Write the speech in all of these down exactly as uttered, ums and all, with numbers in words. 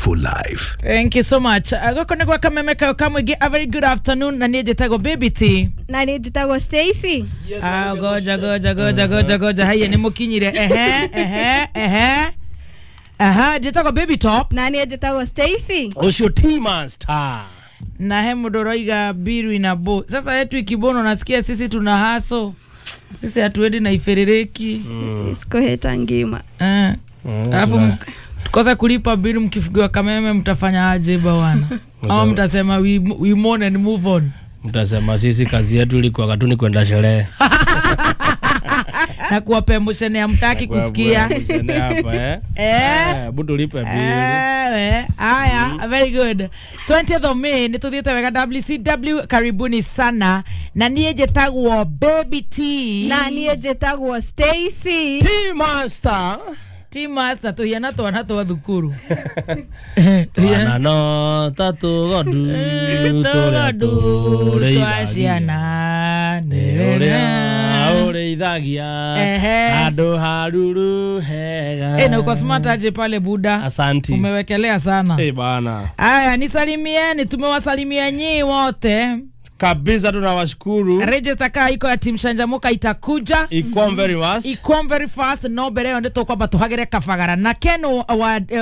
for life. Thank you so much. Goko nĩ gwa Kameme kayo kamwĩngĩ. A very good afternoon, na niĩ njĩtagwo Baby T. Na niĩ njĩtagwo Stacy. Ah, goja goja goja goja goja, haiya nĩ mũkinyire. Ehe ehe ehe. Aha, njĩtagwo Baby Top. Na niĩ njĩtagwo Stacy. Ũcio T-Master. Na he mũndũ ũroiga biru ina bo. Sasa yetu ikibono nasikia sisi tuna haso. Sisi hatuendi na iferereki. Mm. Sikoheta ngima. Eh. Alafu mm, kosa kulipa bill mkifugiwa Kameme mtafanya aje bwana? Au mtasema we, we mourn and move on. Mtasema sisi kazi yetu ilikuwa katuni kwenda sherehe. Na kuwapa emotion ya mtaki kusikia. Hapa eh. Eh, budu lipe bill. Eh, haya, mm. Very good. twentieth of May ni tuthiete wega W C W, karibuni sana. Na niĩ njĩtagwo Baby T. Na niĩ njĩtagwo Stacy. T Master. T Master tuhiana twana twa thukuru. Twana no tatu gondu twa ciana nĩ ũrĩithagia andũ haruru hega. Eh, na uko smart aje pale buda. Asanti. Umewekelea sana. Eh bana. Aya, nisalimieni, tumewasalimia nyinyi wote. Kabisa tunawashukuru. Register kaa iko ya Team Shanjamuka itakuja. Iko very fast. Iko very fast, no mbere yo nĩtũkwamba tũhagĩre Kabagara na Ken wa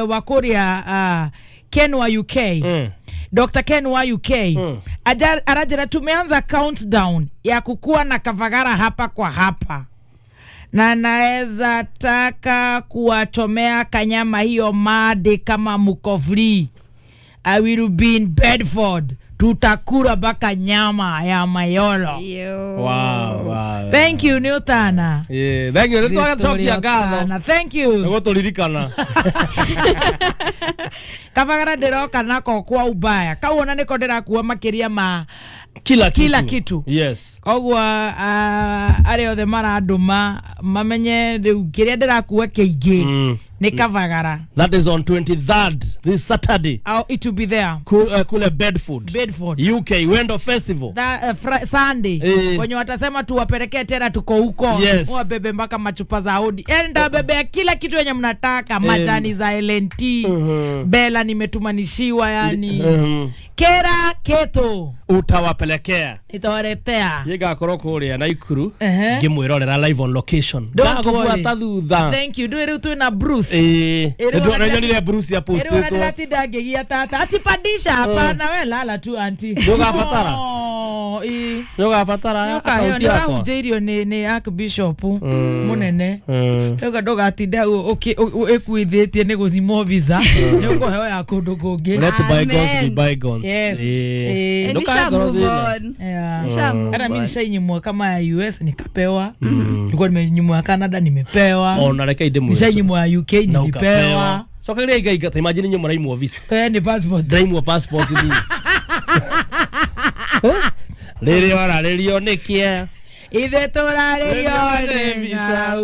wa Korea, uh, Ken wa U K. Mm. Doctor Ken wa U K. Mm. Aja arajira tumeanza countdown ya kukua na Kabagara hapa kwa hapa. Na naweza taka kuwachomea kanyama hiyo made kama mko free. I will be in Bedford. Tutakura baka nyama ya mayolo. Yo. Wow, wow. Thank you Newtana. Yeah, thank you. Nitwagacokia ngatho. Thank you. Nĩgũtũririkana. Kabagara ndĩroka nako kwa ubaya. Kau ona nĩko ndĩrakua makĩria ma kila kitu. Kila kitu. Yes. Koguo uh, arĩa othe marandũma mamenye rĩu kĩrĩa ndĩrakua kĩingĩ. Mm. Ni Kabagara. That is on twenty-third, this Saturday. Oh, it will be there. Cool, uh, kule Bedford. Bedford. U K, Wendo Festival. That, uh, Fri Sunday. Eh. Kwenye watasema tuwapelekee tena tuko huko. Yes. Wabebe mpaka machupa za Audi. Enda bebe kila kitu yenye mnataka, majani za L N T. Mm-hmm. Bella nimetumanishiwa yani. Mm-hmm. Kera keto. Utawapelekea. Itawaletea. Yigakorwo kuria Naikuru. Uh-huh. Ngimwirorera live on location. Don't worry. Thutha. Thank you. Ndũĩ rĩu twĩna Bruce. Eh. Nĩndonire Bruce ya post ĩto. Ĩrĩ ndagia tata. Ati pandisha hapana, we lala tu auntie. Ndũgabatara. Oh, ĩ. Ndũgabatara akaunti yakwa. Nĩũkahunjĩirio nĩ nĩ Archbishop mũnene. Rĩu ndũgatinda ĩkuithĩtie nĩ gũthimwo visa. Nĩ ũkũheo ya kũndũ kũngĩ. Let bygones be bygones. Yes. Eh. Nisha move on. Yeah. Nisha move on. Hata mimi nishainyimwa kama ya U S nikapewa. Nilikuwa nimenyimwa ya Canada nimepewa. Ona reke inde mwe. Nishainyimwa ya U K nilipewa. So kile iga iga imagine nyuma raimwa visa. Eh, ni passport. Raimwa passport ni. Rĩrĩ wararĩrio nĩkĩe. Ithe tũrarĩrio nĩ visa.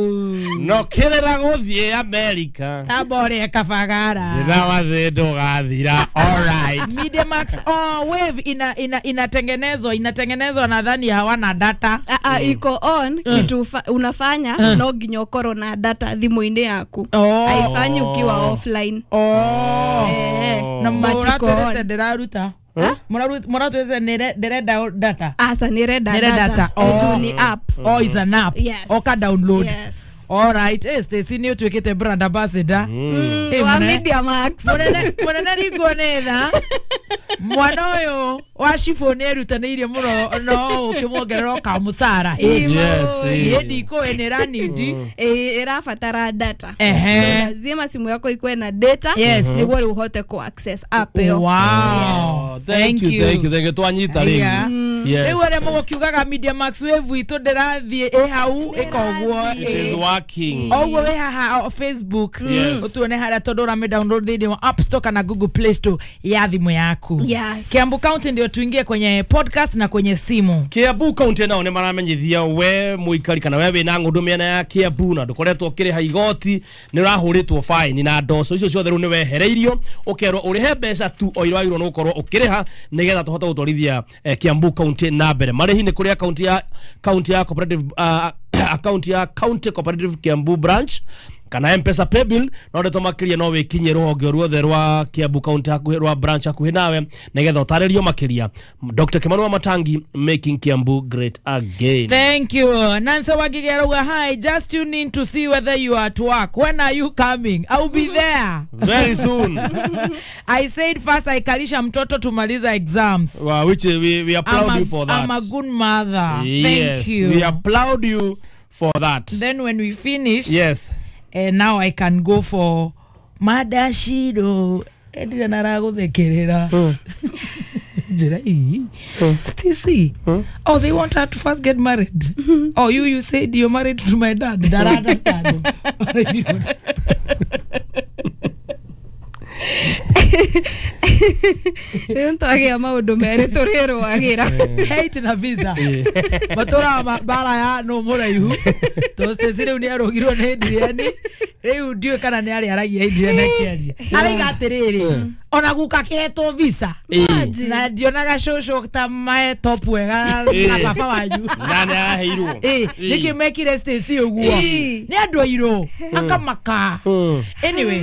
No kĩrĩra gũthiĩ America. Tambore Kabagara. Thĩna wa thĩ ndũgathira. All right. Media Max oh wave ina ina inatengenezwa inatengenezwa nadhani hawana data. Ah ah, iko on kitu unafanya no nginya ukorwo na data thimũ-inĩ yaku. Haifanyi ukiwa offline. Oh. Eh. Na mũratũrete ndĩraruta. Mũratũrete nĩrenda data. Asa nĩrenda data. Oh, ni app. Oh, is an app. Yes. Oka download. Yes. All right. Eh, Stacy ni utuwekete brand ambassador. Mm. Hey, wa Media Max. Mũnene mũnene ringwo nĩ tha. Mwana ũyũ wa cibũ nĩ erutanĩirie mũno no ũkĩmuongerera ũkamũcara. Yes. Ĩ ndikũĩ nĩ ĩranindi. Ĩ ĩrabatara data. Ehe. So lazima simu yako ikuwe na data nĩguo rĩu ũhote ku access app ĩyo. Wow. Yes. Thank you, thank you, thank you. Twanyita rĩngĩ. Yes. Rĩu arĩa mũgũkiugaga Media Max wave itũ ndĩrathiĩ ĩ hau ĩkoguo. It is working. Oguo wĩ haha Facebook. Ũtuone harĩa tondũ ũrame download thĩinĩ wa App Store kana Google Play Store ya thimũ yaku. Yes. Kiambu County ndio tuingie kwenye podcast na kwenye simu. Kiambu County nao nĩ maramenyithia we mũikari kana we wĩna ng'ũndũ mĩena ya Kiambu na ndũkoretwo ũkĩrĩha igoti nĩ ũrahũrĩtwo fine na ndoco icio ciothe rĩu nĩ wehereirio ũkerwo ũrĩhe mbeca tu o iragĩrĩirwo nĩ gũkorwo ũkĩrĩha nĩgetha tũhote gũtwarithia eh, Kiambu County na mbere. Marĩhi nĩ kũrĩ akaunti ya county ya cooperative uh, account ya County Cooperative Kiambu branch Kana Mpesa paybill no ndeto makiria no wikinyie ruhonge ruothe rwa Kiambu County hakuhi rwa branch hakuhi nawe nigetha utarĩrio makiria. Doctor Kimani wa Matangi, making Kiambu great again. Thank you. Nancy Wagige arauga hi, just tune in to see whether you are at work. When are you coming? I'll be there very soon. I said first aikalisha mtoto tumaliza exams. Well, which we, we applaud I'm a, you for that. I'm a good mother. Yes, thank you. We applaud you for that. Then when we finish, yes, eh, now I can go for madashido. Edira naraguthekerera. Njira ii. Stacy. Oh, they want her to first get married. Oh, you you said you're married to my dad. That I understand. Rĩu nĩtwagĩa maũndũ merĩ tũrĩrũagĩra. Hate na visa. Matũraga mbara ya no mũraihu. Tondũ Stacy rĩu nĩ arũgirwo nĩ Adrian. Rĩu ndiũĩ kana nĩ arĩaragia Adrian akĩaria. Araiga atĩrĩrĩ, ona guka kĩhetwo visa. Na ndionaga cũcũ ta mae top wega na baba wanyu. Na nĩ araheirwo. Ĩ, nĩkĩ mekire Stacy ũguo? Nĩ andũ airũ. Akamaka. Anyway,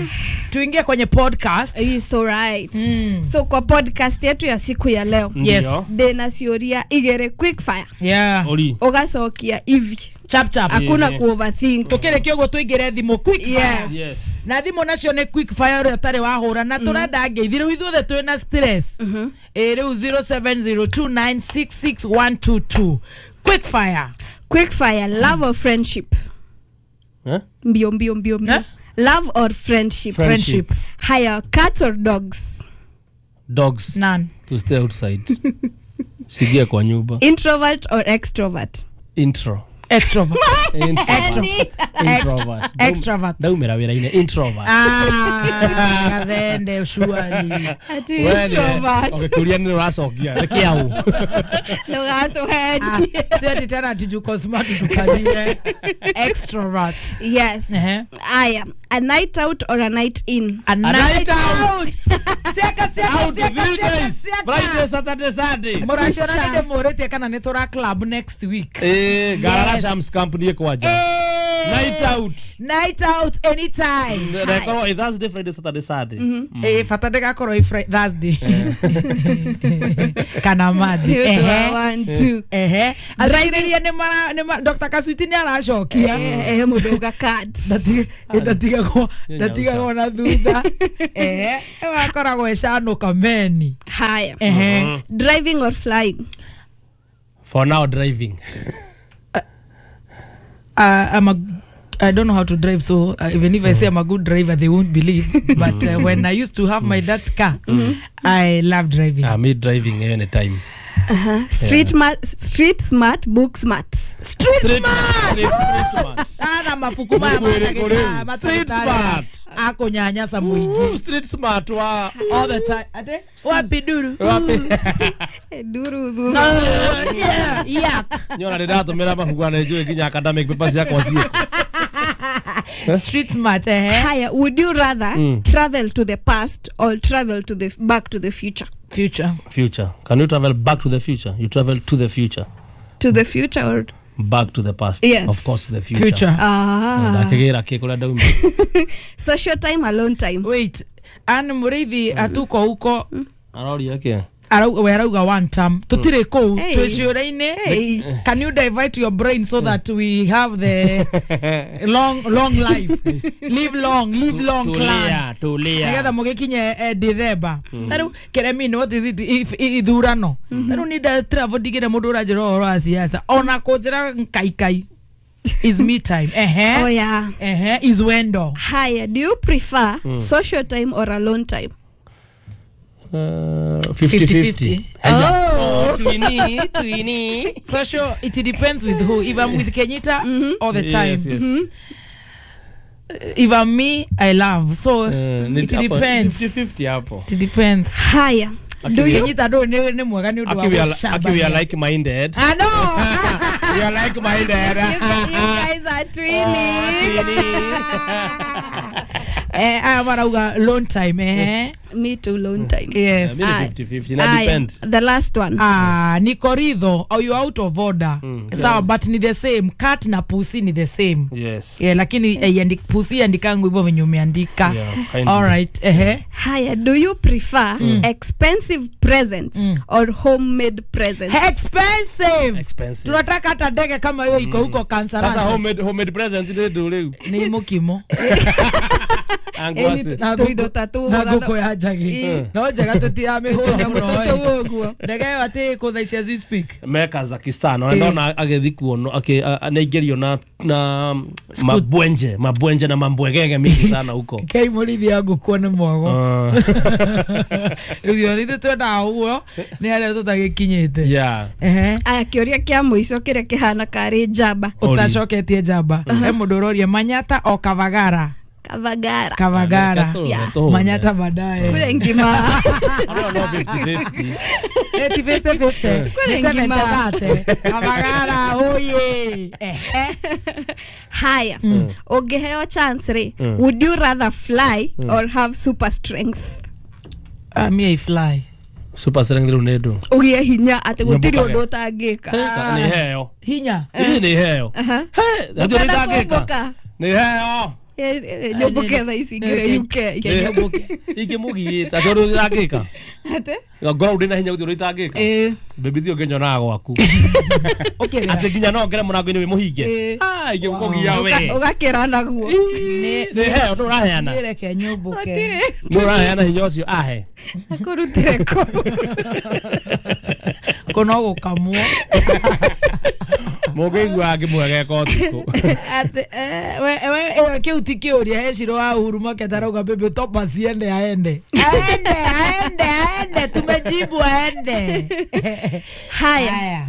tuingie kwenye podcast. It's all right. Mm. So kwa podcast yetu ya siku ya leo, yes, ndina ciũria igere quick fire. Yeah. Ugacokia hivi. Chap chap. Hakuna ku overthink. Tukire kiogo tuingire thimu quick fire. Yes. Yes. Na thimu nacio ni quick fire uria tari wahura na turenda ngeithi riu ithuothe twina stress. Eh riu zero seven zero two nine six six one two two. Quick fire. Quick fire, love or friendship? Eh? Mbio mbio mbio mbio. Eh? Love or friendship? Friendship. Higher, cats or dogs? Dogs. None. To stay outside. Sigia kwa nyumba. Introvert or extrovert? Intro. Extrovert. Introvert. Introvert. Extrovert. Ndaumira wira-inĩ introvert. Ah, gathende surely. Ati introvert. Ũgĩkũria nĩ ũracokia. Nĩ kĩau. Ndũgatũhenie. Si ati tena ati juko smart tukalie. Extrovert. Yes. Uh-huh. Aya, a night out or a night in? A night out. Siaka siaka Out siaka three siaka days. siaka. Friday, Saturday, Sunday. Mũraciona nĩ ndĩmũrĩtie kana nĩ tũra club next week. Eh, Garara Shams Company kwanja. Night out. Night out anytime. Rekorwo ĩ Thursday, Friday, Saturday, Sunday. Eh, bata ndĩgakorwo ĩ Fri- Thursday. Kana Monday. Ehe. One, two. Ehe. Athikĩrĩria nĩ mara nĩ ma Doctor Kasuiti nĩ aracokia. Eh, eh, mũndũ uga cards. Ndati- ndatigagwo ndatigagwo na thutha. Ehe. Wakoragwo ĩcanũka meni. Haya. Ehe. Driving or flying? For now driving. Uh, I'm a I don't know how to drive, so uh, even if I say I'm a good driver, they won't believe. But uh, when I used to have my dad's car, I love driving. Ah, me driving anytime. Uh-huh. Street yeah. Street smart, book smart. Street, Street smart. Street, street smart. Ana mafuku maya matageka Street smart. Akunyanyasa muingi. Street smart wa all the time. Ate wapi duru? Wapi? Duru duru. No, yeah, yeah. Nyona ndiratumira mabuku na njui nginya academic papers ciakwa ciĩko. Street smart, eh? Haya, would you rather mm. travel to the past or travel to the back to the future? Future. Future. Can you travel back to the future? You travel to the future. To the future or back to the past? Yes. Of course, the future. Future. Ah. Ndakigera kikura ndauma. Social time, alone time. Wait. Anne Muriithi atuko huko. Aroria ke? Arauga we arauga one term. Tutire kuu twiciuraine. Can you divert your brain so that we have the long long life? Live long, live long clan. Tulia, tulia. Nigetha mugikinye December. Taru keremi what is it if ithurano. Taru ni da travel digire mundu uranjira uhoro wa siasa. Ona kunjira kaikai. Is me time. Eh. Oh yeah. Eh, is wendo. Haya, do you prefer mm. social time or alone time? fifty fifty. Oh, twini, twini. Social, it depends with who. If I'm with Kenyita, mm-hmm. all the time. Yes, yes. Mm-hmm. If I'm me, I love. So uh, it depends. fifty fifty hapo. It depends. Haya. Do you Kenyita do ne ne mwega ni undu wa Aki we are like minded. I know. We are like minded. You, you guys are twinning. Eh, aya marauga long time eh. Me too, long time. Yes. Yeah, mi ni fifty fifty, na depend. The last one. Ah, ni koridho or you out of order. Mm, sawa, yeah. But ni the same. Cat na pussy ni the same. Yes. Yeah, lakini eh, yandi, pussy andikangu hivyo venye umeandika. Yeah, all right. Ehe. Haya, do you prefer mm. expensive presents mm. or homemade presents? Expensive. Expensive. Tunataka hata ndege kama hiyo iko huko kansa. Sasa homemade homemade present ndio ndio. Ni mukimo. Angwase. Na guko ya njagi. No njega tutiramĩhũra mũno. Ndege ĩyo atĩ ĩkũ thaa ici as we speak. Me Kazakhstan ona ndona agĩthi kuono akĩ na na mabwenje mabwenje na mambwegege mingi sana huko. Kei mũrĩithi ya ngũkũ nĩ mwago. Rĩu ithuĩ twendaga ũguo nĩ harĩa tũtagĩkinyĩte. Yeah. Ehe. Aya kĩũria kĩa mũico kĩrĩa kĩhana karĩ njamba. Ũtacoketie njamba. He mũndũ ũroria Manyata o Kavagara. Kavagara. Kavagara. Yeah. Manyata baadaye. Kule ngima. No no fifty fifty. Eti fifty fifty. Kule ngima. Kavagara oye. Haya. Ungeheo chance re. Would you rather fly or have super strength? Ah, me I fly. Super strength rä u nä ndå å gä hinya atä gå tirä å ndå å tangä ka nä heo hinya ä nä heo nä itangä ka nä heo nyåmbå tha ici ngä re U K ingä må giä te atä å ndå itangä ka ngorwo ndä na hinya gå tirä å ndå itangä ka bebi thi å ngä nyonaga gwaku atä nginya no ngere må rango-inä wä må hinge ingä gå kå gia we å gakä ra naguo nä heo ndå raheana reke nyåmbå ndå raheana hinya å cio ahe akå rutä re kå kå no gå kamwo mũngĩigua ngĩmwegeka ũtukũ kĩu ti kĩũria he Shiro wa Uhuru Maketa arauga baby topa siende aende aende aende aende tumejibu aende. Haya,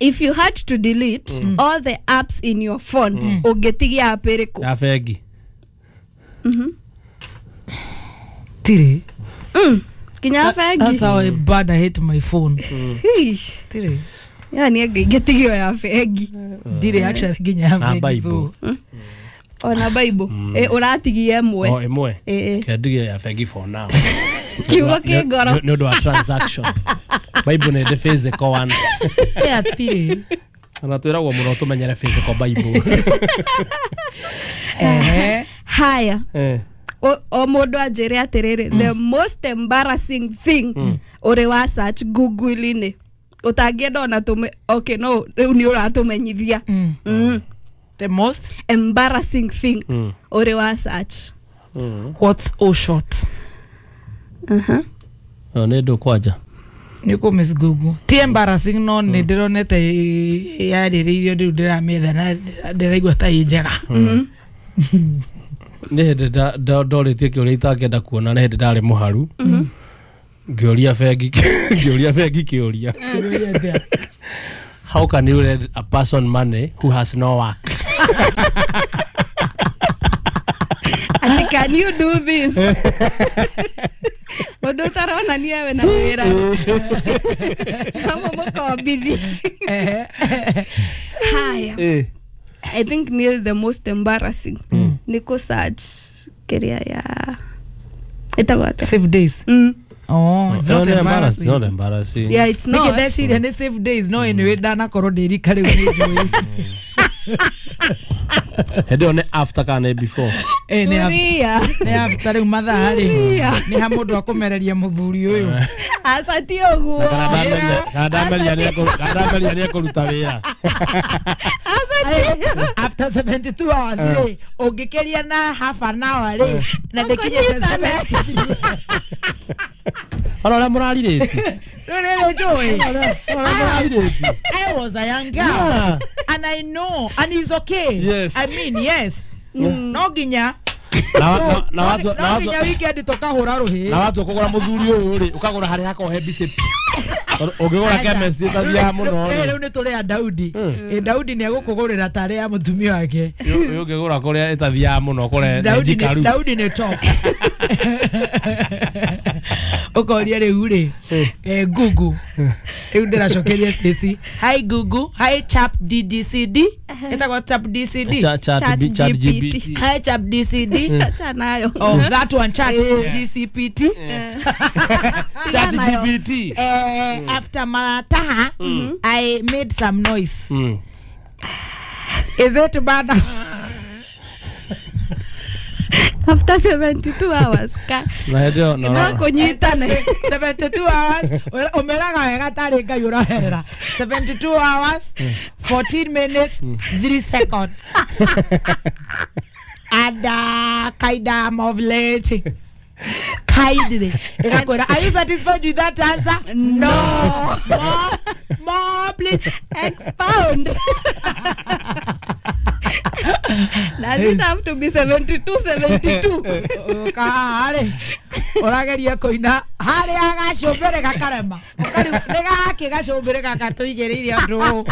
if you had to delete mm. all the apps in your phone ũngĩtigia app ĩrĩkũ? Ya bengi. Mhm. Tiri mm kinya bengi. That's how I bad I hate my phone. Tiri yani ngĩtigio ya bengi ndire actually nginya ya bengi so ona Bible eh ũratigia ĩmwe o ĩmwe kendigie ya bengi for now kiugo kĩ ngoro nĩ ũndũ wa transaction. Bible nĩ the physical one. Ya tiri ona twĩragwo mũno tũmenyere physical Bible. Eh haya o mũndũ anjĩre atĩrĩrĩ, the most embarrassing thing ũrĩ wa search Google-inĩ utangĩenda ona tume okay no rĩu nĩ ũratũmenyithia. The most embarrassing thing ũrĩ wa search. What's all short? Uh-huh. Nĩ ndũ kwanja nĩ kũ miss Google ti embarrassing no nĩ ndĩronete yarĩrĩirio rĩu ndĩramĩetha na ndĩraigua ta ĩ njega. Nĩ hĩndĩ ndorĩtie kĩũria itangĩenda kuona nĩ hĩndĩ ndarĩ mũharu ngĩũria bengi ngĩũria bengi kĩũria how can you lend a person money who has no work? Ati can you do this? Mũndũ ũtaronania we na wĩra kama mũkombithi. Haya, I think near the most embarrassing nĩ kũ search kĩrĩa ya ĩtagwo atĩa? Save days. Mm. Oh, it's not embarrassing. It's not embarrassing. Yeah, it's not. Niki ndeciria nĩ save days no anyway ndanakorwo ndĩrika rĩu nĩ njũĩ. Hĩndĩ ĩyo nĩ after kana nĩ before? Eh nĩ after. Nĩ after rĩu mathaa rĩ. Nĩ ha mũndũ akũmereria mũthuri ũyũ. Aca ti ũguo. Kana ndameria nĩ ekũruta wĩra. After seventy-two hours rĩ ũngĩkĩria na half an hour rĩ na ndĩkinyĩte seventy-three. Ona ũrĩa mũrarirĩtie. Rĩu nĩ njũĩ. I was a young girl. Yeah. And I know and it's okay. Yes. I mean yes. No nginya na na watu no nginya weekend tũkahũra rũhĩ. Na watu kũgũra mũthuri ũyũ rĩ ũkagũra harĩa hakoragwo he mbici ũngĩgũra chemist ĩtathiaga mũno rĩ. Rĩu nĩ tũrĩ a Daudi. Ĩ Daudi nĩ egũkũgũrĩra tarĩ ya mũtumia wake. Ũyũ ũngĩgũra kũrĩa ĩtathiaga mũno kũrĩa Daudi nĩ Daudi nĩ top. Ũkoria rĩu rĩ eh Google rĩu ndĩracokeria Stacy. Hi Google, hi Chap D D C D. Ĩtagwo Chat D C D. Chat Chat Chat G P T. G P T. Hi Chat D C D. Acha nayo. Oh, that one, Chat G C P T. Chat G P T. Eh, after Marataha, I made some noise. Mm. Is it bad? After seventy-two hours ka Na hĩndĩ ĩyo no- no kũnyitana. seventy-two hours umeraga wega tarĩ Ngai ũroherera. seventy-two hours fourteen minutes three seconds. And uh, kinda I'm of late. Kindly. Ĩgakwĩra, are you satisfied with that answer? No. More, more please. Expound. Does it have to be seventy-two seventy-two? Harĩ ũrageria kũina harĩa gacũmbĩrĩ gakarema. Nĩ gakĩ gacũmbĩrĩ gaka tũigĩrĩire andũ.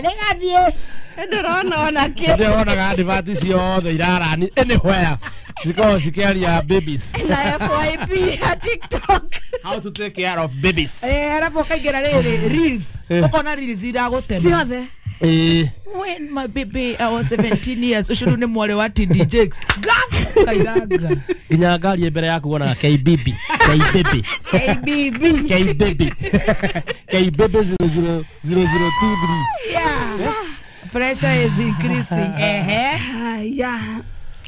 Nĩ gathiĩ. Ndĩrona ona kĩ. Hĩndĩ ĩyo wonaga advert ciothe irarani anywhere cikoragwo cikĩaria babies. Na F Y P ya TikTok. How to take care of babies. Eh, arabu ũkaingĩra rĩrĩ reels. Ũkona reels iragũtema. Ciothe. Eh. When my baby I was seventeen years, ũcio rĩu nĩ mwarĩ wa T D Jakes. Kairanga. Nginya ngari ĩ mbere yaku wonaga K B B. K B B. K B B. K B B. K B B zero zero zero zero two three. Yeah. Pressure is increasing. Ehe. Haya.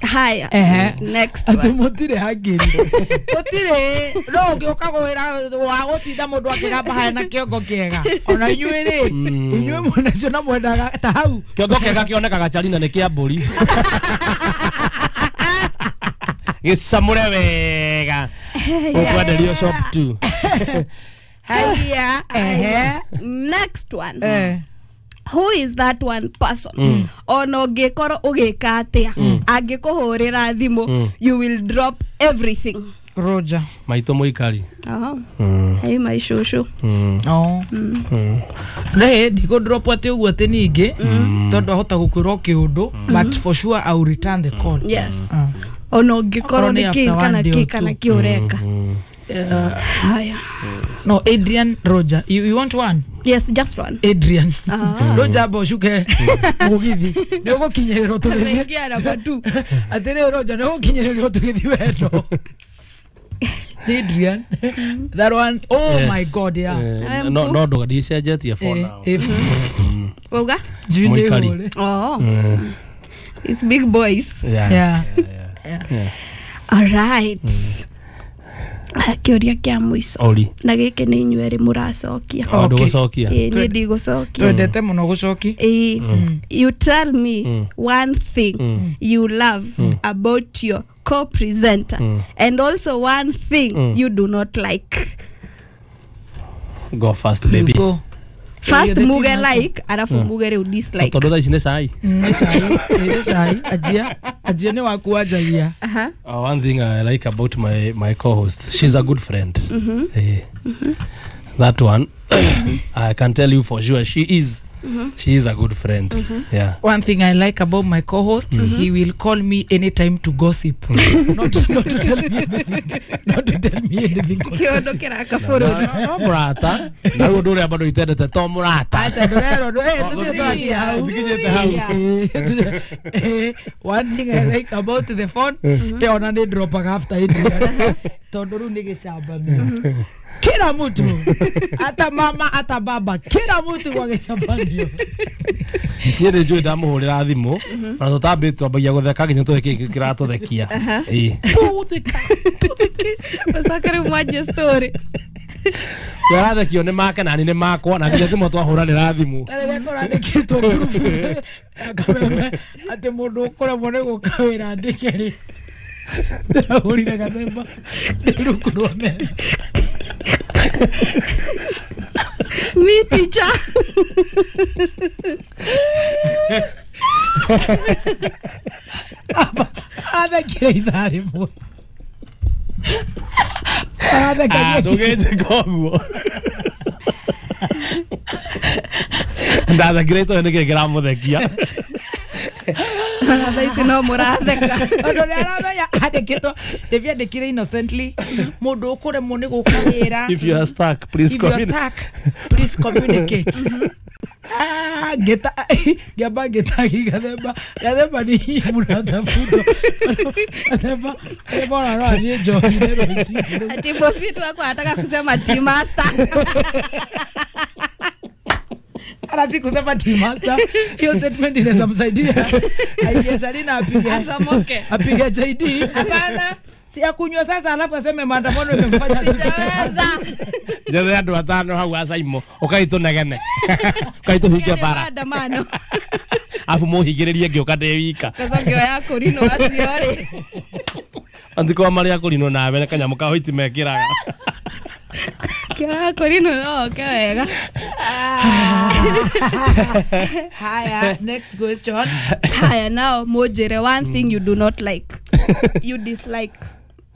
Haya. Ehe. Next Atĩ one. mũtirĩ hangĩri. Gũtirĩ. No ũngĩũka gwĩra wa gũtinda mũndũ akĩgamba harĩa na kĩongo kĩega. Ona inyuĩ rĩ, inyuĩ mwĩnacio na mwendaga ta hau. Kĩongo kĩega kĩonekaga Charina nĩ kĩa mbũri. Gĩcamũre wega. Ũkwenderio shop two. Haya. Ehe. Next one. Eh. Who is that one person? Ona ũngĩkorwo ũgĩka atĩa, angĩkũhũrĩra thimũ, you will drop everything. Roger. Maitũ mũikari. Aha. Hey my shosho. Oh. Nĩ ndikũ drop atĩ ũguo atĩ ningĩ tondũ ahota gũkwĩra o kĩũndũ, but for sure I will return the call. Yes. Mm. Ona ũngĩkorwo Okorwo nĩ nĩ kĩ after kana one day kĩ or kana two. kĩ ũreka. Haya. No, Adrian Roger. You, you want one? Yes, just one. Adrian. Ah. Roger amba ũcuke mũgithi. Nĩ ũgũkinyĩrĩrwo tũgĩthiĩ. Thengia namba two. Atĩrĩ Roger, nĩ ũgũkinyĩrĩrwo tũgĩthiĩ wendo. Adrian. That one. Oh Yes. my God, yeah. Eh, I'm no cool. no ndũga ndicenjetie for Eh, now. eh, Wauga? Njui nĩ Mũikari. hũre. Oh. It's big boys. Yeah. Yeah. Yeah. Yeah. All right. Kĩũria kĩa mũico. Ori. Na gĩkĩ nĩ inyuĩ erĩ mũracokia. O Okay. ndũgũcokia. Ĩĩ, niĩ ndigũcokia. Twendete mũno gũcoki. Ĩĩ, you tell me one thing you love about your co-presenter and also one thing you do not like. Go first baby. You go. First You're the muge team master. like, alafu muge rĩu dislike. Tondũ thaa ici nĩ cai. Nĩ cai, nĩ cai. Anjia, anjia nĩ waku wanjagia. Aha. Uh, one thing I like about my, my co-host, she's a good friend. Eh, That one, I can tell you for sure, she is. She is a good friend. Yeah. One thing I like about my co-host, he will call me anytime to gossip. not, not to tell me anything. Not to tell me anything. Kĩũndũ kĩraka bũrũri. No mũrata. Na rĩu ũndũ ũrĩa bado itendete to mũrata. Aca ndũrerwo ndũ- eh, tũthiĩ twakie hau. Tũkinyĩte hau. Eh, eh, one thing I like about the phone, eh, ona nĩ dropaga after Adrian. Tondũ rĩu nĩ gĩcambanio. Kila mtu hata mama hata baba, kila mtu kwa gĩcambanio. Niĩ nĩ njũĩ ndamũhũrĩra thimũ na tũtambĩ twambagia gũtheka nginya tũĩ kĩĩ kĩratũthekia. Ĩĩ. Tũgũtheka. Ũcoke rĩu mwanjie story. Twarathekio nĩ make na niĩ nĩ makwa na nginya thimũ twahũranĩra thimũ. Ta rĩrĩa kũrandĩkĩtwo ngurubu kameme atĩ mũndũ ũkũremwo nĩ gũka wĩra andĩke rĩ, ndĩrahũrire gathemba ndĩ rungu rwa metha. Me teacher. Athekire ithaa rĩmwe. Arathekagia Ndũgĩnjĩka ũguo. Ndathekire itoĩ nĩkĩĩ kĩramũthekia. Thaa ici no mũratheka. Tondũ nĩ aramenya andĩkĩtwo ndĩbiandĩkire innocently mũndũ ũkũremwo nĩ gũka wĩra. If you are stuck, please If you are communicate. stuck, please communicate. Ah, ngeta ngĩamba ngĩtagi gathemba gathemba ni mũratafutwo gathemba gathemba ona no athiĩ njohi-inĩ rũciũ. Ati bosi tu wako anataka kusema tea master. Anataka kusema tea master. Hiyo statement inaweza msaidia aingie sharina apige asomoke apige J D. Hapana, si akunywa sasa alafu aseme maandamano imemfanya sijaweza. Njethe andu atano hau acaimo ukaitå ukaitå bara maandamano afu muhingĩrĩrie ngĩũka ndĩ wika sasa ngĩoya kũrinwo acio rĩ andiko marĩa kũrinwo nawe na kanyamũ ka white mekĩraga kĩoya kũrinwo no oke wega. Haya, next question. Haya, now mũnjĩre one thing you do not like, you dislike.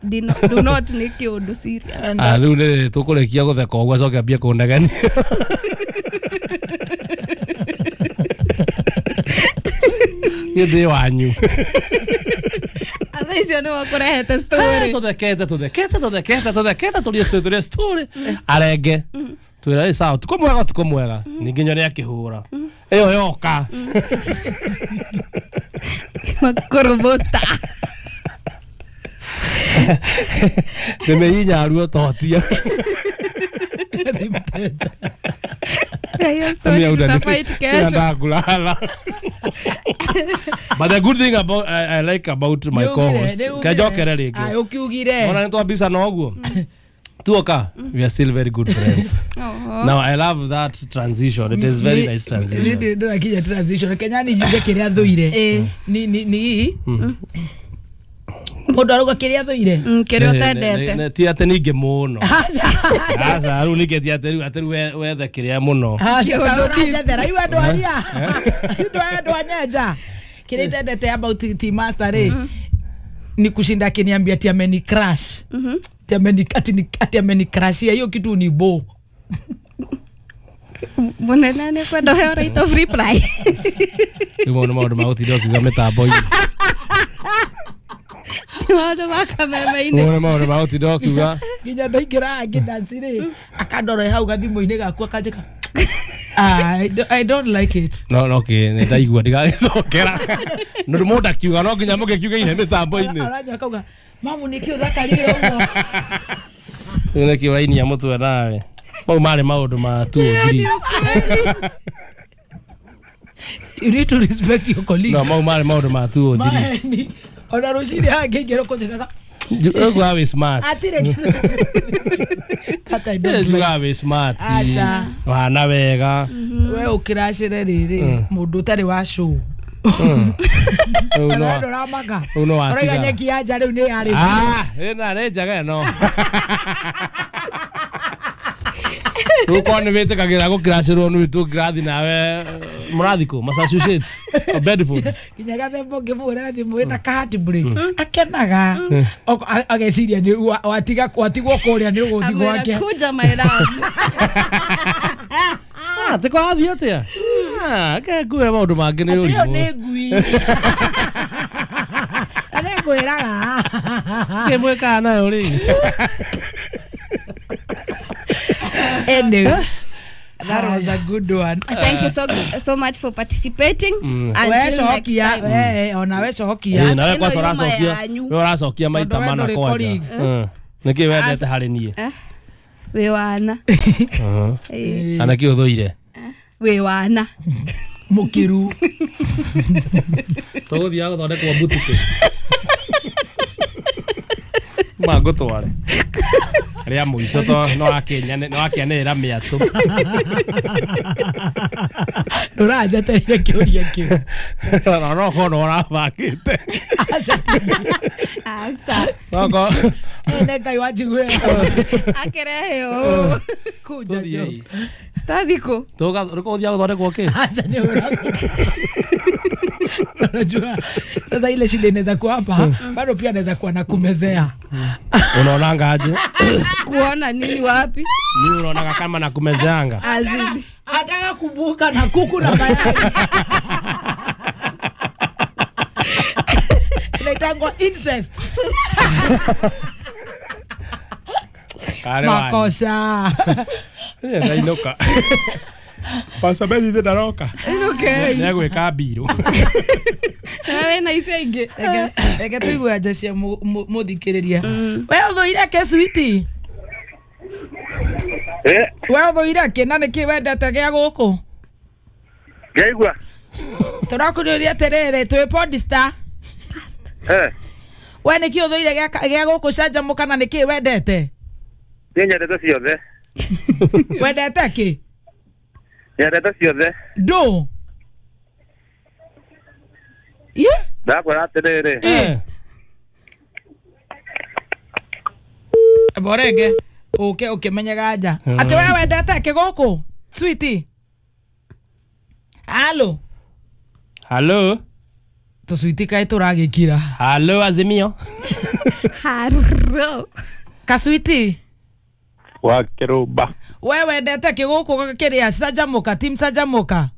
Do not, do not nĩ kĩũndũ serious. Ah, rĩu nĩ tũkũrĩkia gũtheka ũguo acoke ambie kũnegenia. Niĩ ndĩ wanyu. Atha icio nĩ wakũrehete story. Tũthekete tũthekete tũthekete tũthekete tũrie story tũrie story arenge twĩra ĩ sawa tukũ mwega tukũ mwega ningĩ nyone akĩhũra ĩyo yoka makũrũbũta ndĩmĩhinyaruo totia. Hiyo story tutafight kesho. But the good thing about I, I like about my co-host kejokere rĩngĩ. Ayo kiugire. Ona nĩ twambica na ũguo. Tuoka, we are still very good friends. Oh. Now I love that transition. It is very nice transition. Nĩ ndĩrakinya transition. Kenya ni njuge kĩrĩa thũire. Ni ni ni mũndũ arauga kĩrĩa thũire. Kĩrĩa ũtendete. Ti atĩ ningĩ mũno. Aca rĩu ningĩ ti atĩ rĩu atĩ rĩu wethe kĩrĩa mũno. Aca ũranjethera iu andũ aria. Andũ aya andũ a Nyenja. Kĩrĩa itendete about Tea Master rĩ ni kushinda akiniambia ati ameni crash. Ati ameni ati ati ameni crash. Hiyo kitu ni bo. Mũnene nĩ kwenda ũheo right of reply. Rĩu mau nĩ maũndũ ma gũtinda ũkiuga mĩtambo-inĩ. Maũndũ ma kameme-inĩ. Mau nĩ maũndũ ma gũtinda ũkiuga. Nginya ndaingĩra ngĩdanci rĩ akandora hau gathimũ-inĩ gaku akanjĩka I don't, I don't like it. No, no, okay, nĩ ndaigua ndigagĩcokera. Nĩ ũndũ mũndũ akiuga no nginya mũgĩkiuga ine mĩtambo-inĩ. Aranyua akauga mamu nĩkĩ ũthakarire ũguo. Rĩu nĩkĩ ũrainia mũtwe nawe. Mau marĩ maũndũ ma two or three. You need to respect your colleagues. No, mau marĩ maũndũ ma two or three. Ona rũcinĩ haha ngĩingĩra ũkũnjĩkaga Uguo wĩ smart. Atirĩ That I don't like. Uguo wĩ smart. Acha. Wahana wega. We ũkĩracĩre rĩrĩ mũndũ ũtarĩ wa show. Rĩu no ndũramaka. Rĩu no watiga. Ũraiga nyeki ya nja rĩu nĩ yarĩ. Ah, ĩna nĩ njega ĩno. Rĩu korwo nĩ wĩtĩkagĩra gũkĩracĩrwo nĩ tũngĩrathi nawe mũrathi kũ Massachusetts or Bedford. Nginya gathemba ũngĩmũhũrĩra thimũ ĩna ka heartbreak akenaga ageciria nĩ watiga watigwo kũrĩa nĩ ũgũthiĩ gwake. Kuja my love. Ah, tĩ kwathiĩ atĩa? Ah, ke ngwĩre maũndũ mangĩ nĩ ũrimũ. Ĩyo nĩ ngui. Na nĩ ngwĩraga. Kĩ mwĩkaga nayo rĩ? Anyway, that was a good one. Thank you so so much for participating. Mm. Until next time. Eh, ona we cokia. Eh, nawe kwaca ũracokia. We ũracokia maita mana kwanja. Nĩkĩ wendete harĩ niĩ? Wĩ wana. Ana kĩ ũthũire? Wĩ wana. Mũkĩru. Tũgũthiaga gũthondekwo mbutukũ. Mangũtware. Rĩa mũico to no akĩnyane no akĩanĩrĩra mĩatũ. Ndũranjetereire kĩũria kĩu. No no korwo ũrabangĩte. Aca. No korwo. Nĩ Ngai wanjiguĩra. Akĩrehe ũũ. Kũnja njo. Tũthiĩ kũ? Tũgũthiaga gũthondekwo kĩ? Aca nĩ ũrathondekwo. Unajua sasa ile shida inaweza kuwa hapa bado pia anaweza kuwa na kumezea. Unaonanga aje? Kuona nini wapi? Mimi unaonanga kama na kumezeanga. Azizi. Anataka kubuka na kuku na mayai. Inaitangwa incest. Makosa. Ndainuka. Pastor Ben ithe ndaroka. Okay. Nĩegwĩka mbirũ. Nawe na icio ingĩ. Reke reke tũigue anja cia mũthikĩrĩria. We ũthũire kĩ sweetie? Eh, We ũthũire kĩ na nĩkĩ wendete gĩa gũkũ? Ngaigua. Tũrakũrĩria atĩrĩrĩ, twĩ Podster. Eh, We nĩkĩ ũthũire gĩa gĩa gũkũ canjamũka na nĩkĩ wendete? Niĩ nyendete ciothe. Wendete kĩ? Nyendete ciothe. Ndũ? Ye? Ndakwĩra atĩrĩrĩ. Eh. Borege uke ukimenyaga nja. Atĩ we wendete kĩ gũkũ? Sweetie. Halo. Hello. Tũcuiti kaĩ tũragĩkira. Hello Azimio. Haro. Kaswiti. Wa kĩrũmba. We wendete kĩ gũkũ kĩrĩa canjamũka, team canjamũka?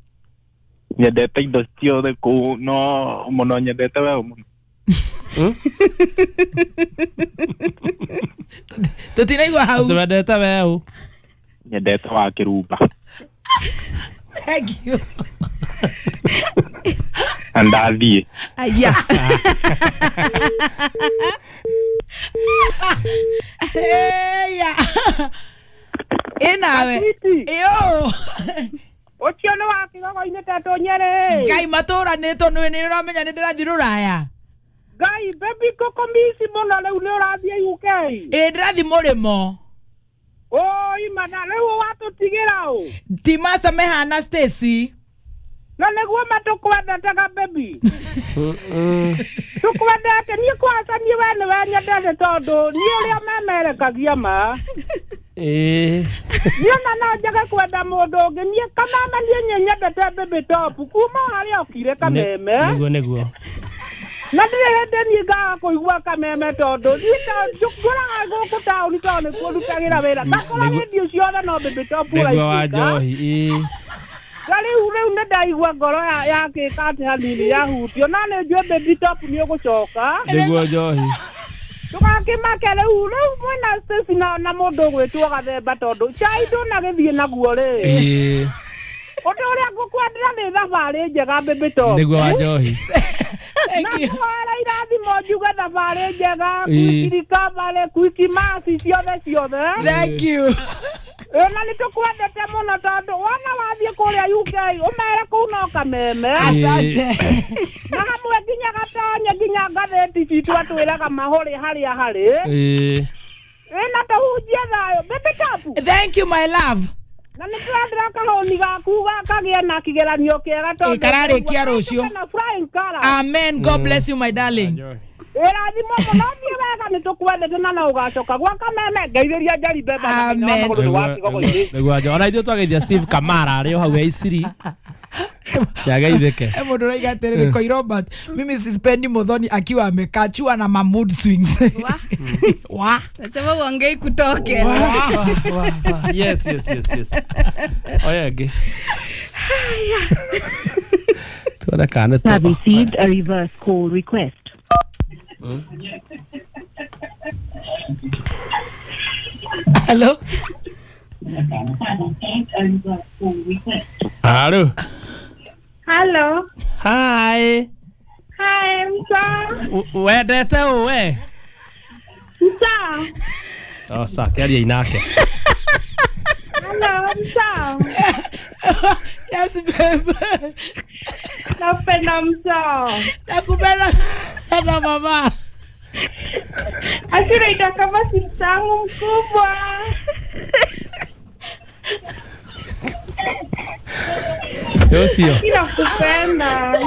Nyendete indo ciothe kũu no mũno nyendete we mũno. Tũtinaigua hau. Twendete weũ. Nyendete wa kĩrũmba. Thank you. Na ndathiĩ. Aya. Eya. Ĩnawe. Ĩyo. Ũcio nĩ wa kĩgogo-inĩ tetũ Nyerĩ. Ngai matũranĩtwo nĩ nĩ ũramenya nĩ ndĩrathiĩ rũraya. Ngai baby koko mici mũno rĩu nĩ ũrathiĩ U K. Ĩ ndĩrathiĩ mũrĩmo. Oi mana rĩu watũtigĩra ũ. Ti Master mehana Stacy. Na nĩguo matũkwendete ga baby. Tũkwendete niĩ kwanza niĩ we nĩwe nyendete tondũ niĩ ũrĩa memerekagia ma. Ĩĩ. Niĩ ona no njage kwenda mũndũ ũngĩ niĩ kameme niĩ nyendete baby top kuma harĩa okire kameme. Nĩguo nĩguo. Na ndirĩ hĩndĩ niĩ ngaga kũigua kameme tondũ niĩ ngũraga gũkũ taũni tondũ nĩkuo ndutagĩra wĩra. Ngakora redio ciothe no baby top Nĩguo wa njohi. Ĩĩ. Na rĩu rĩu nĩ ndaigua ngoro yakĩka atĩ hanini yahutio na nĩ njũĩ baby top nĩ ũgũcoka. Nĩguo njohi. Ndũgakĩmake rĩu rĩu mwĩna Stacy na na mũndũ ũgwĩtwo Gathemba tondũ chai ndũnagĩthiĩ naguo rĩ. Ĩĩ. Ũndũ ũrĩa ngũkwendera nĩ thabarĩ njega baby top. Nĩguo wa njohi. Na kũhoera irathimo njuge thabarĩ njega, quick recovery, quick mercy ciothe ciothe. Thank you. Na nĩ tũkwendete mũno tondũ wona wathiĩ kũrĩa U K ũmere kũu no kameme. Asante. Na hamwe nginya gatonye nginya ngathĩti citũ atwĩraga mahũrĩ harĩa harĩ. Ĩĩ. Ĩ na tũhunjie thayũ baby top. Thank you my love. Na nĩ tũrendera kahũni gaku gakagĩe na kĩgeranio kĩega tondũ kararĩkia rũciũ. Amen. God bless you my darling. Ĩrathimo mũno thiĩ wega nĩ tũkwendete na no ũgacoka gwa kameme ngeithĩria Njeri Mbemba na Amen. Nĩguo njohi. Ona ithuĩ twageithia Steve Kamara arĩ o hau e Isiri. Yageithĩke. Eh mũndũ ũraiga atĩrĩrĩ Koi Robert, mimi sispendi Muthoni akiwa amekachua na ma mood swings. Wa. Wa. Nasema uongei kutoke. Yes yes yes yes. Oya ĩngĩ. Tuone kana nĩ Have received a reverse call request. Hello. Hello. Hello. Hi. Hi, Msa. Wendete ũ we? Msa. Oh, sa kĩaria inake. Hello, Msa. Yes, babe. Nakupenda Msa. Nakupenda sana mama. Asira itakama simsangu mkubwa. Yosio. Nakupenda.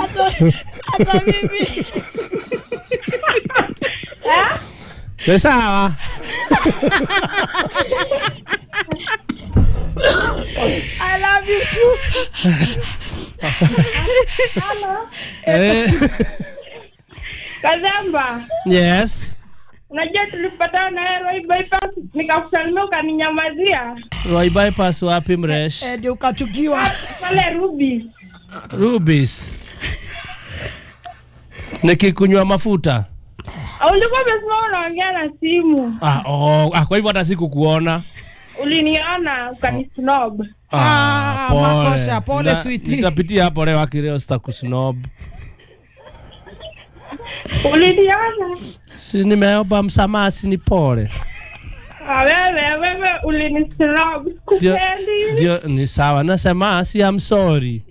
Hata mimi. Eh? Ni sawa. I love you too. Hello. Eh. Kazamba. Yes. Unajua tulipatana na Roy Bypass nikakusalimia ukaninyamazia. Roy Bypass wapi mresh? Eh, ndio ukachukiwa. Pale Ruby. Rubies. Nikikunywa mafuta. Ulikuwa umesema unaongea na simu. Ah, oh, ah, kwa hivyo hata sikukuona. Uliniona ukanisnob. Ah, pole. Makosha, pole, Na- sweetie. Nitapitia hapo leo akileo sitakusnob. Uliniona? Si nimeomba msamaha, si ni pole. Ah, wewe wewe ulinisnob. Ndio, Sikupendi. ndio ni sawa. Nasema si I'm sorry.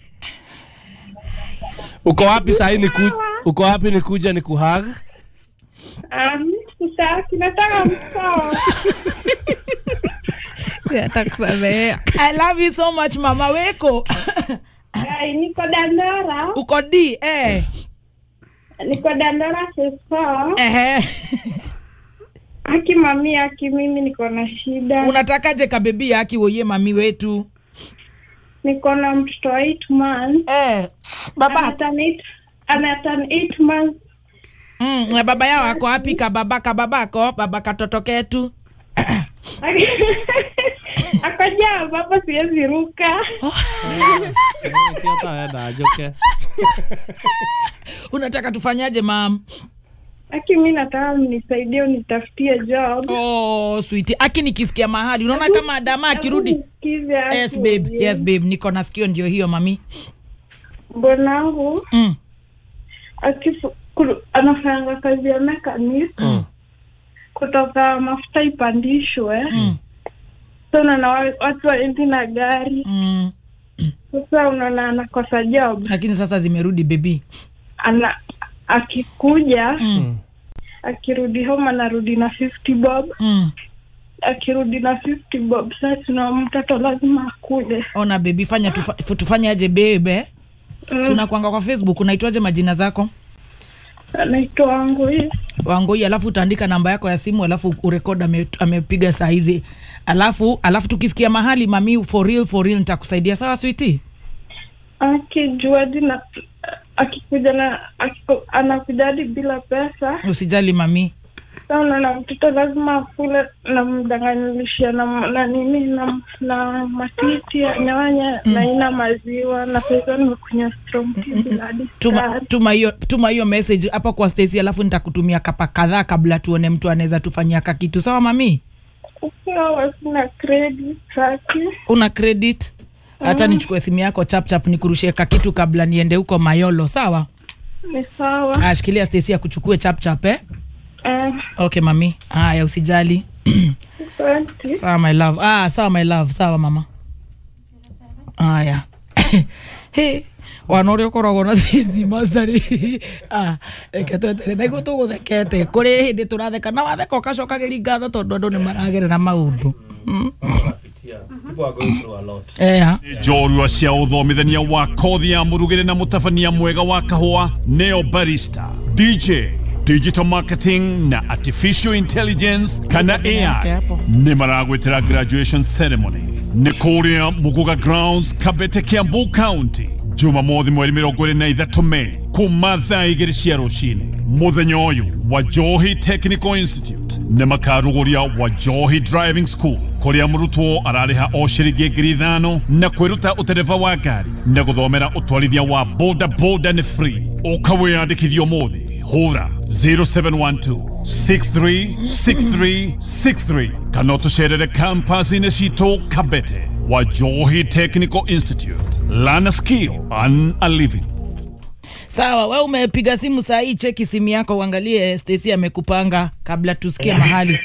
Uko wapi sahi niku uko wapi nikuja nikuhug? Ah, mimi sikutaki, nataka mtoto. Atakusamehea. I love you so much mama weko. Ai, niko Dandora. Uko D eh. Niko Dandora phase four. Ehe. Aki mami, aki mimi niko na shida. Unatakaje kabebi aki woye mami wetu? Niko na mtoto wa eight months. Eh. Baba Ana eight, ana turn eight months. Mm, na baba yao ako wapi kababa kababako baba katoto ketu? Akajaa baba, siwezi ruka. Kiota njoke. Unataka tufanyaje mam? Aki mi nataka mnisaidie unitafutie job. Oh, sweetie. Aki nikisikia mahali unaona kama Adama akirudi. Nisikize, aki Yes babe, wewe. yes babe, niko na sikio ndio hiyo mami. Bwanangu Mm. akifu- kuru- anafanyanga kazi ya mechanic Mm. kutoka mafuta ipandishwe. Mm. So unaona wa- watu waendi na gari. Mm. Sasa unaona anakosa job. Lakini sasa zimerudi baby. Ana akikuja Mm. akirudi home anarudi na fifty bob. Mm. Akirudi na fifty bob, sasa tuna mtoto lazima akule. Ona baby, fanya tufa, tufanye aje babe? Mm. Si unakuanga kwa Facebook unaitwaje majina zako? Anaitwa wangu hii. Wangoi, alafu utaandika namba yako ya simu alafu urekod ame, amepiga saa hizi. Alafu alafu tukisikia mahali mami, for real for real nitakusaidia sawa sweetie? Akijua hadi na akikuja na akiku, anakuja hadi bila pesa. Usijali mami. Sasa unaona mtoto lazima akule, namdanganyilishia na, na nini na, na matiti ya nyanya mm. na ina maziwa na pesa nimekunywa strong tea bila hadi Tuma sukari. tuma hiyo tuma hiyo message hapa kwa Stacy alafu nitakutumia kapa kadhaa kabla tuone mtu anaweza tufanyia kakitu. Sawa mami? Sawa, sina credit saki. Una credit? Hata nichukue simu yako chap chap nikurushie kakitu kabla niende huko Mayolo, sawa? Ni sawa. Ah, shikilia Stacy akuchukue chap chap eh? Eh, Okay mami. Haya usijali. asante. Sawa my love. Ah, sawa my love. Sawa mama. Haya. Hey, wana ũrĩa ũkoragwo na thima citarĩ ah, reke twetere na iguo tũgũthekete kũrĩ hĩndĩ tũratheka na watheka ũgacokagĩria ngatho tondũ andũ nĩ maragerera maũndũ. Mm. People are going through a lot. Ea. Njorua cia uthomithania wa kothi ya murugire na mutabania mwega wa kahũa neo barista, D J, digital marketing na artificial intelligence kana Yake A I hapo. nĩ maragwĩtĩra graduation ceremony nĩ kũrĩa Muguga Grounds, Kabete, Kiambu County, Jumamothi mweri mĩrongo ĩrĩ na ithatũ Mei kuma thaa igĩrĩ cia rũcinĩ. Mũthenya ũyũ Wajohi Technical Institute nĩ makarugũria Wajohi Driving School kũrĩa mũrutwo ararĩha o ciringi ngiri ithano na kwĩruta ũtereba wa ngari na gũthomera ũtwarithia wa boda boda nĩ free. Ũka wĩyandĩkithie ũmũthĩ, hũra zero seven one two six three six three six three kana ũtũcerere campus-inĩ citũ Kabete. Wajohi Technical Institute, learn a skill, earn a living. Sawa, we umepiga simu saa hii, cheki simu yako uangalie Stacy amekupanga kabla tusikie mahali.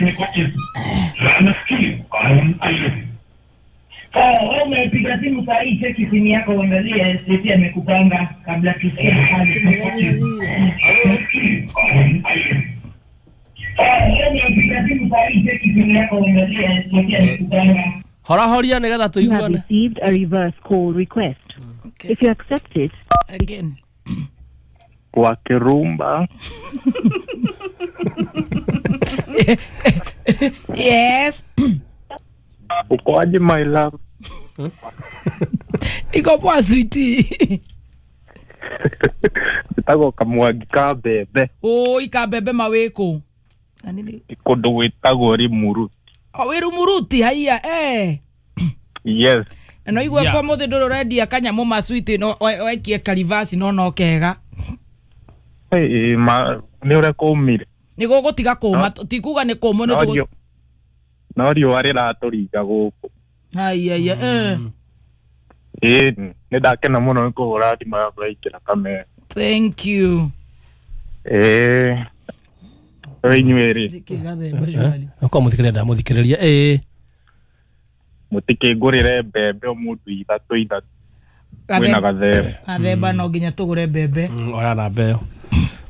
Sawa, wewe umepiga simu saa hii, cheki simu yako uangalie Stacy amekupanga kabla tusikie mahali. Sawa, wewe umepiga simu saa hii, cheki simu yako uangalie Stacy amekupanga. Horahoria nĩgetha You have tũiguane. received a reverse call request. Okay. If you accept it, Again. Kwa Kirumba. Yes. Uko aje, my love? Iko poa sweetie. Njĩtagwo Kamwangi ka mbembe. Oi kabebe mawĩkũ. Na nini? Kũndũ gwĩtagwo Limuru. O wĩ Rumuruti haiya eh. Yes. Na no igua Yeah. kwa mũthĩ ndũrĩ ũrendia kanyamũ ma sweet no we- wekie karivasi no no kega. Hey, ma nĩ ũrĩa kũmire. Nĩ gũgũtiga kũma ti kuga nĩ kũmũ nĩ No tũgũ riũ- no riũa rĩratũringa gũkũ. Haiya eh. Ĩĩ nĩ ndakena mũno nĩ kũhũra thimũ yakwa ĩkĩra kamera. Thank you. Ĩĩ inyuĩ rĩ kwa mũthikĩrĩria ndamũthikĩrĩria ĩĩ mũtikĩngũrĩre mbembe o mũndũ ithatũ ithatũ mwĩna gathemba gathemba no nginya tũgũre mbembe. Oya na mbeo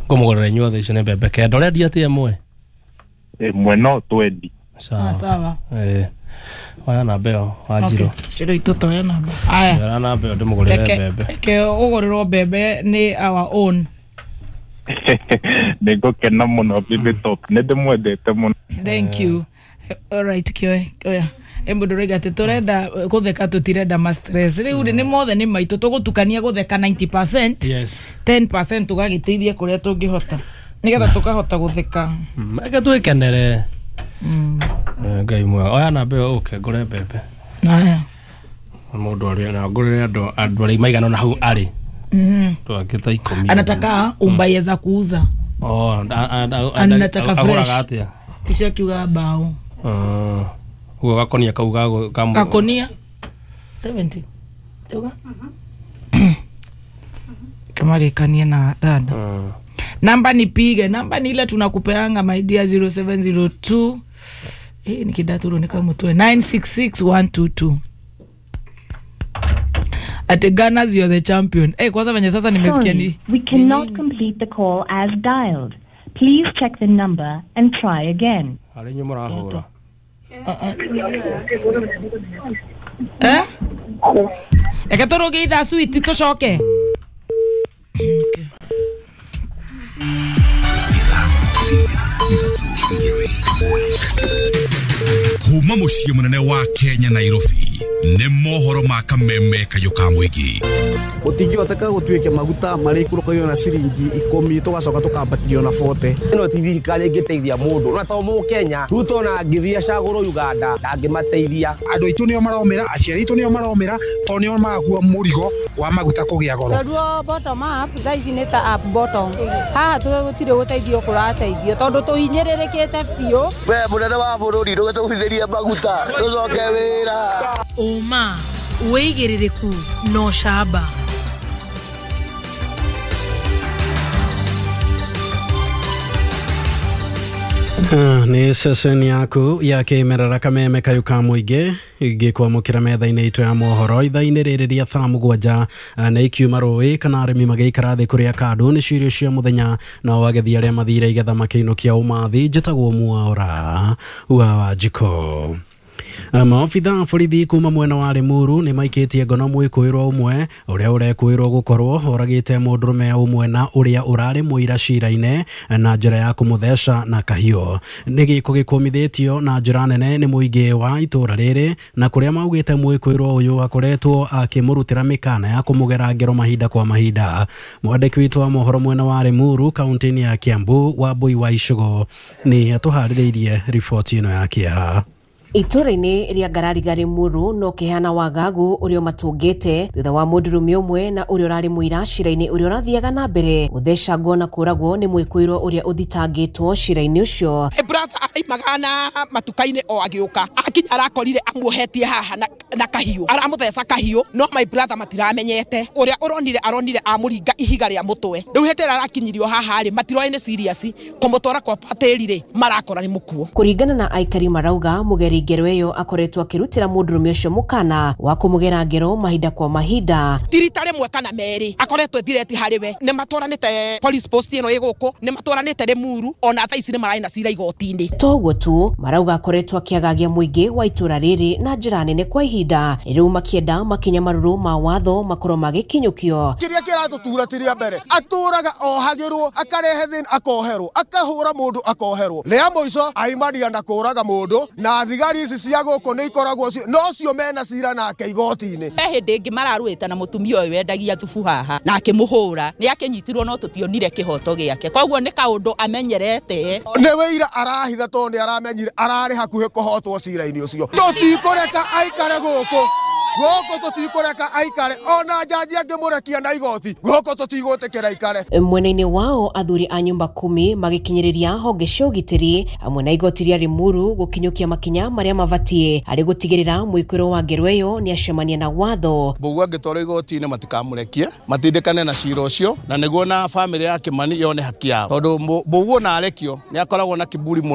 ngũmũgũrĩra inyuothe icio nĩ mbembe kenda ũrendia atĩa ĩmwe ĩmwe no twendi. Sawa sawa. Ĩĩ oya na mbeo Wanjirũ ciro itũ toya namba aya oya na mbeo ndĩmũgũrĩre mbembe reke ũgũrĩrwo mbembe nĩ our own. Nĩ ngũkena mũno baby top nĩ ndĩmwendete mũno. Thank you. All right kĩoe oya mũndũ raiga atĩ tũrenda gũtheka tũtirenda ma stress rĩu rĩ nĩ mothe nĩ maitũ tũgũtukania gũtheka ninety percent yes ten percent tũgagĩteithia kũrĩa tũngĩhota nĩgetha tũkahota gũtheka reke twĩkenere. Ngai mwega oya na mbeo ũke ngũre mbembe aya mũndũ arĩa na ngũrĩre andũ andũ arĩa maigana na hau arĩ twangĩ ta ikũmi anataka umbaye za kuuza. Oh anataka fresh ticio kiuga bao ugo gakonia kau ga gakonia seventy tuga kamarikanie na dada. Namba nipige namba ni ile tunakupeanga my dear zero seven zero two eh nikidaturo nikamutwe nine six six one two two. At Gunners you're the champion. Eh kwanza venye sasa nimesikia ni we cannot complete the call as dialed. Please check the number and try again. Ari nyuma rahura. Eh? Eke tũrũge ithaa sweet tũcoke. Okay. Kuma mũciĩ mũnene wa Kenya Nairobi nĩ mohoro ma kameme kayũ ka mũingĩ gũtingĩhoteka gũtuĩke maguta marĩa ikũrũkagio na ciringi ikũmi tũgacoka tũkambatĩrio na bote ĩno ti thirikari ĩngĩteithia mũndũ na to mũkenya Ruto na angĩthiĩ acagũrwo Uganda ndangĩmateithia andũ aitũ nĩo maromĩra aciari aitũ nĩo maromĩra tondũ nĩo magua mũrigo wa maguta kũgĩa goro tondũ bottom up thaa ici nĩ ta up bottom haha tũtirĩ gũteithio kũrateithio tondũ tũhinyĩrĩrĩkĩte biũ we mũnene wa bũrũri ndũgĩtũgũithĩrie maguta tũcoke wĩra ũma wĩigĩrĩrĩku no camba. Nĩ ceceni yaku ya kĩmerera kameme kayũ ka mũingĩ gĩkwamũkĩra metha-inĩ itũ ya mohoro ithaa-inĩ rĩrĩ rĩa thaa mũgwanja na ikiuma rũĩ kana arĩmi magĩikara thĩ kũrĩa kandũ nĩ cirio cia mũthenya nao agethi arĩa mathire igetha makĩinũkia ũmathi. Njĩtagwo Mwaura wa Wanjikũ. Maobitha a borithi kuma mwena wa Limuru nĩ maikĩtie ngono mwĩkũĩrwo ũmwe ũrĩa ũrekũĩrwo gũkorwo oragĩte mũndũrũme ũmwe na ũrĩa ũrarĩ mũira cira-inĩ na njĩra ya kũmũtheca na kahiũ. Nĩ gĩko gĩkũmithĩtio na njĩra nene nĩ mũingĩ wa itũra rĩrĩ na kũrĩa maugĩte mwĩkũĩrwo ũyũ akoretwo akĩmũrutĩra mĩkana ya kũmũgera ngero mahinda kwa mahinda. Mwandĩki witũ wa mohoro mwena wa Limuru kaunti-inĩ ya Kiambu Wambui wa Icũgũ nĩ atũharĩrĩirie riboti ĩno ya kĩeha. Itũra-inĩ rĩa Ngarariga Limuru no kĩhana wagagu ũrĩa ũmatũngĩte thutha wa mũndũrũme ũmwe na ũrĩa ũrarĩ mũira cira-inĩ ũrĩa ũrathiaga na mbere gũthecangwo na kũragwo nĩ mwĩkũĩrwo ũrĩa ũthitangĩtwo cira-inĩ ũcio. Brother araimaga na matuka-inĩ o agĩũka akinya arakorire amuohetie haha na, na kahiũ aramũtheca kahiũ no my brother matiramenyete ũrĩa ũronire aronire amũringa ihiga rĩa mũtwe rĩu hĩndĩ ĩrĩa arakinyirio haha rĩ matiroĩ nĩ serious kũmũtwara kwa patĩri rĩ marakora nĩ mũkuo. Kũringana na aikari marauga mũgeri ngero ĩyo akoretwo akĩrutĩra mũndũrũme ũcio mũkana wa kũmũgera ngero mahinda kwa mahinda ti rita rĩmwe kana merĩ akoretwo ethireti harĩ we nĩ matwaranĩte police post ĩno ĩ gũkũ nĩ matwaranĩte Limuru ona thaa ici nĩ mararĩ na cira igoti-inĩ. Toguo tu marauga akoretwo akĩagagia mũingĩ wa itũra rĩrĩ na njĩra nene kwa ihinda rĩu makĩenda makinya marũrũ ma watho makorwo magĩkinyũkio. Kĩrĩa kĩratũtura ti rĩa mbere atũraga ohagĩrwo akarehe thĩna akoherwo akahũra mũndũ akoherwo rĩa mũico aimaria na kũraga mũndũ na thigari ici cia gũkũ nĩ ikoragwo no cio mena cira nake igoti-inĩ. He hĩndĩ ĩngĩ mararũĩte na mũtumia ũyũ wendagia thubu haha na akĩmũhũra nĩ akĩnyitirwo no tũtionire kĩhoto gĩake koguo nĩ kaũndũ amenyerete nĩ wĩira arahitha tondũ nĩ aramenyire ararĩ hakuhĩ kũhotwo cira-inĩ ũcio tũtikũreka aikare gũkũ. Gũkũ tũtikũreka aikare ona jaji angĩmũrekia na igoti, gũkũ tũtigwĩtĩkĩra aikare. Mwena-inĩ wao athuri a nyumba kumi magĩkinyĩrĩria honge cia ũgitĩri hamwe na igoti rĩa Limuru gũkinyũkia makinya marĩa mabatiĩ harĩ gũtigĩrĩra mwĩkũĩrwo wa ngero ĩyo nĩacemania na watho. Mbũgua angĩtwarwo igoti-inĩ matikamũrekie, matindĩkane na cira ũcio, na nĩguo na bamĩrĩ ya Kimani yone haki yao, tondũ Mbũgua ona arekio nĩ akoragwo na kiburi mũno.